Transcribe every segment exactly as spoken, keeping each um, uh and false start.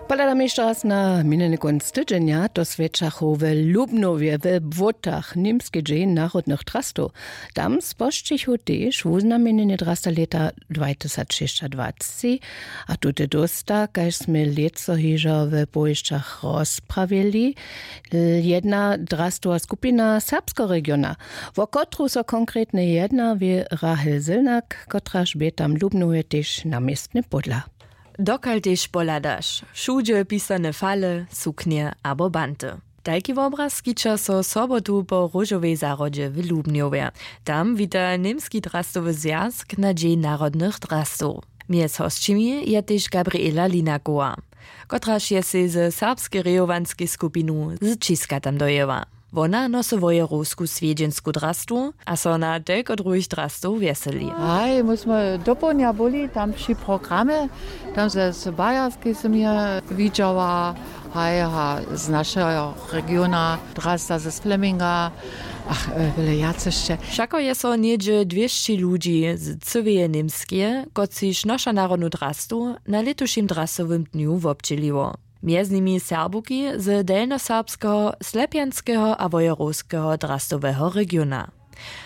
Pohladamy hišće raz na minjeny kónc tydźenja. To swjećachu w Lubnowje we Błótach nimski dźeń narodnych drastow. Tam spožčichu tež wuznamjenjenje drasta lěta dwatysacšěsćadwacci. A tute dósta, kaž smy lětso hižo w powěsćach rozprawili, jedna drastowa skupina serbskeho regiona, wo kotru so konkretnje jedna wě, Rahel Sylnak, kotraž bě tam w Lubnowje tež na městnje pódla. Dokal tež pohladaš, wšudźe pisane fale, suknje abo banty. Tajki wobraz skića so sobotu po róžowej zahrodźe w Lubnjowje. Tam wita Němski drastowy zwjazk na Dźeń narodnych drastow. Mjez hosćimi je tež Gabriela Linakowa, kotraž je sej ze serbskej rejowanskej skupinu z Ćiska tam dojěła. Wona nosy wojerowsku swjedźensku drastu a so na telko druhich drastow wjeseli. Haj, my smy dopołdnja byli tam při programje, tam ze z Bajerskej sym je widźała, haj, a z našeho regiona drasta ze Fleminga, ach, e, wjele wjace sće. Wšako je so něhdźe dwěsći ludźi z cyłeje Němskeje, kotřiž noša narodnu drastu, na lětušim drastowym dnju wobdźěliło. Mjez nimi Serbuki z delnjoserbskeho, slepjanskeho a wojerowskeho drastoweho regiona.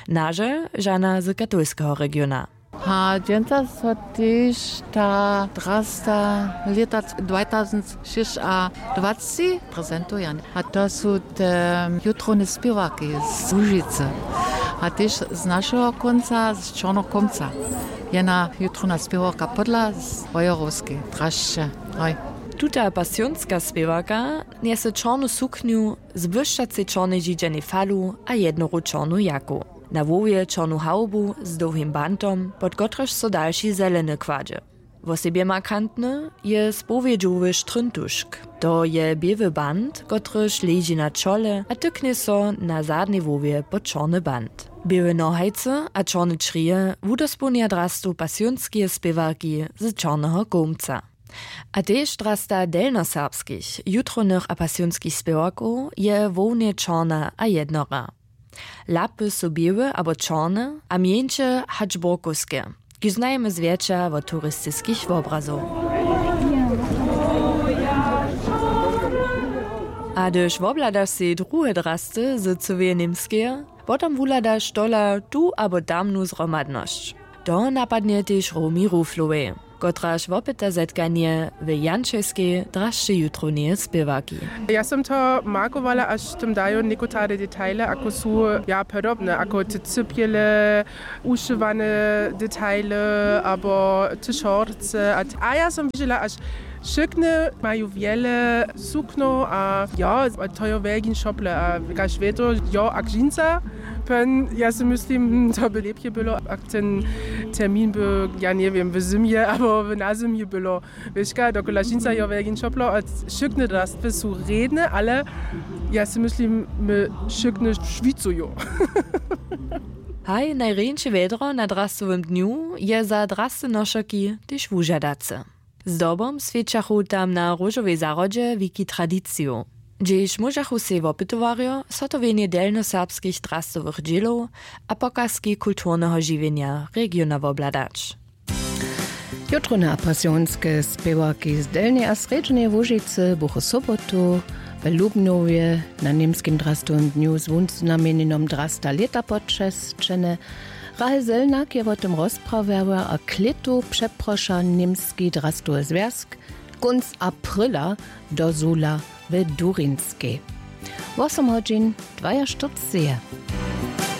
Nažel žana z katolskeho regiona. A dźensa so tež ta drasta lěta dwatysacšěsćadwacci prezentuje. A to su te jutrowne spěwarki z Łužicy. A tež z našeho kónca, z Čornochomca. Jedna jutrowna spěwarka podla z wojerowskej drasće. Hoj. Tuta pasionska spěwarka njese čornu suknju z błyšćacej čornej židźanej falu a jednoru čornu jaku. Na hłowje čornu hawbu z dołhim bantom, pod kotryž so dalši zeleny kładźe. Wosebje markantny je spowědźowy štryntušk. To je běły bant, kotryž leži na čole a tyknje so na zadnej hłowje pod čorny bant. Běłe nohajcy a čorne črije wudospołnja drastu pasionskeje spěwarki z Čorneho Kołmca. A tež drasta delnjoserbskich, jutrownych a pasionskich spěwarkow je hłownje čorna a jednora. Lapy su běłe abo čorne a mjeńše hač burkowske, kiž znajemy zwjetša wot turistiskich wobrazow. A hdyž wobhladaš sej druhe drasty z cyłeje Němskeje, potom wuhladaš tola tu abo tamnu zhromadnosć. To napadnje tež Romi Ruflowej, kotraž wopyta zetkanje w Jančelskej drasće jutrowneje spěwarki. Ja som to markowała, až tam dajo někotare detaile, ako su ja podobne, ako te cypjele, ušywane detaile abo te šorce. A, a ja som widźela, až wšykne maju wjele sukno a jo, a to jo wjelkin šople a kaž wjeto, jo, a dźinsa. Pen, ja si myslim, to by lěpje było, ak ten termin by, ja njewěm, w zymje abo w nazymje było. Wěška, dokola dźinsa jo wjelkin šoplo a wšykne drastwy su rědne, ale ja si myslim, my wšykne šwicuju. Haj, najrjeńše wjedro na drastowym dnju je za draste nošerki tež wužadace. Zdobom swjećachu tam na róžowej zahrodźe wiki tradiciju, hdźež móžachu sej wopytowarjo zhotowjenje delnjoserbskich drastowych dźělow a pokazki kulturneho žiwjenja regiona wobhladać. Jutrowne a pasionske spěwarki z Delnjeje a Srjedźeneje Łužicy buchu sobotu w Lubnjowje na Němskim drastowym dnju z wuznamjenjenom drasta lěta počesćene. Rahel Selnak je wo tym rozprawjała a klětu přeproša Němski drastowy zwjazk kónc apryla do Zula w Durinskej. Wosom hodźin dwajaštyrceće.